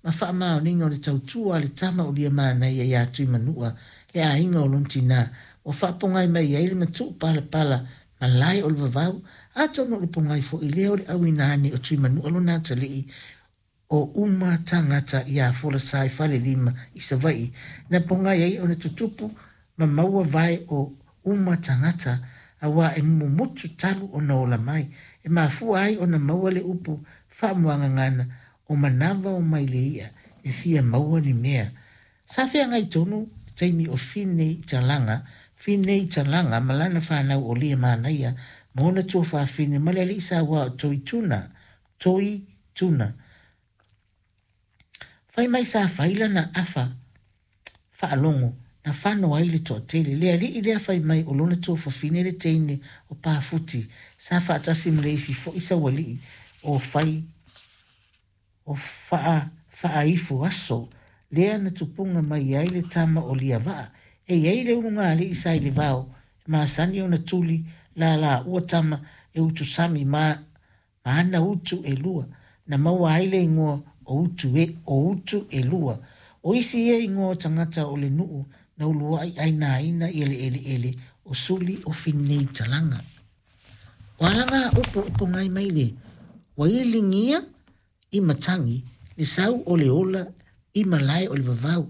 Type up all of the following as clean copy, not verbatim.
ma faamaoniga o le tautua a le tama o Liamanaia ia Tuimanua, le aiga o lona tina, ua faapogai mai ai le matuu palapala malae o le vavau, atonu o le pogai foi lea o le auina ane o Tuimanua lona atalii o uma tagata iā Folasa i Falelima i Savaii, na pogai ai ona tutupu ma maua vae o uma tagata, auā e mumutu talu ona ola mai, e mafua ai ona maua le upu faamuagagana o manava o mai le i'a e fia maua ni mea. Sa feagai tonu le taimi o Finney Talaga, Finney Talaga ma lana fanau o Liamanaia ma ona tuafafine ma le alii sauā o Toi Tuna, Toi Tuna. Fai mai sa fai lana afa faalogo na fano ai le toatele. Le alii lea fai mai o lona tuafafine le teine o Pafuti sa faatasi ma le isi foi saualii o fai o faa faaifo aso lea na tupuga mai ai le tama o Liavaa. E i ai le ulugalii sa i le vao e masani ona tuli lalaua tama e utusami ma ma ana utu e lua, na maua ai le igoa o utu e, o utu e lua. O isi ia igoa o tagata o le nuu na uluai ainaina ia le eleele o suli o Finney Talaga. O alaga upu e pogai mai le ua iligia i matagi le sau o le ola i malae o le vavau.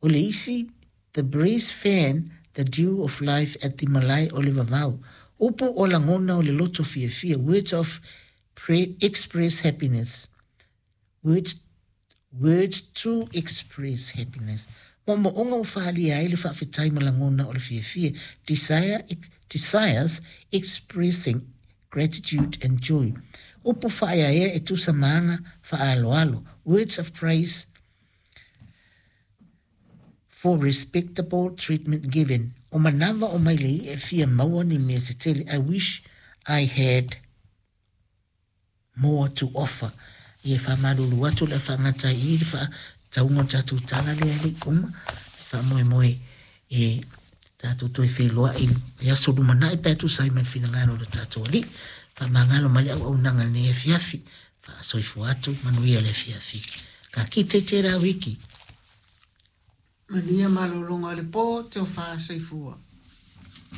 O le isi, the breeze fan the dew of life at the malae o le vavau. Upu o lagona o le loto fiafia, words of pre express happiness. Words, words to express happiness. Moomooga ua faaalia ai le faafetai ma lagona o le fiafia, desire, desires expressing gratitude and joy. Upu faaeaea e tusa ma aga faaaloalo, words of praise for respectable treatment given. O manava o mailei e fia maua ni mea tetele, I wish I had more to offer. Ia e faamalulu atu o le a faagata ai i i le faatauga o le tatou tala lea e le i uma. E faamoemoe e tatou toe feiloai i aso lumanai pe a tusa ai ma le finagalo o le tatou Alii. Faamagalo mai le auaunaga i lenei afiafi. Faasoifua atu, manuia le afiafi. Ka kite i tērā wiki. Manuia malologa o le po, tofa soifua.